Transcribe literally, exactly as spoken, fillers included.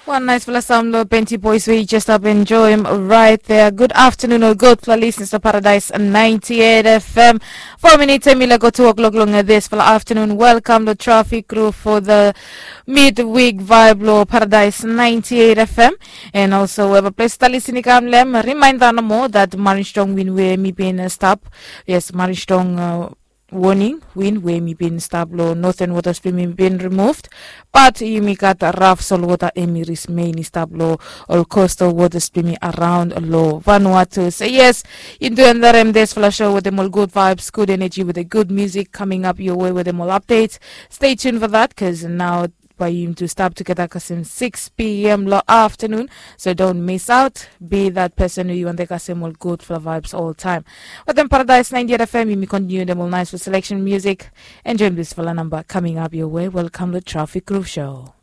Wan naispela sam long Penti Boys we yu jes stap enjoim rait thea. Gud aftanun ol gudpela lisnis long Paradais ninety eight F M. Four minutes em i laik go two o'clock long dispela aftanun. Welcome long Traffic Crew for the midweek vibe long Paradise ninety eight F M. And also wherever place ta listening kam lem, reminder no more that Marin Strong win we mi bin stop. Yes, Marin Strong uh, warning win we mi bin stop long Northern Waters bin mi bin removed. But yumi gat rough sol water emi ris main i stap long ol coastal waters blong mi around long Vanuatu. So yes, yu do endarem dispela show with them all good vibes, good energy, with a good music coming up your way with them all updates. Stay tuned for that, because now by you to stop together kasem six p.m. lo afternoon. So don't miss out. Be that person who you want to kasem all good for vibes all time. But then Paradise ninety-eight F M, you continue them all nice with selection music. Enjoy this fella number coming up your way. Welcome to Traffic Groove Show.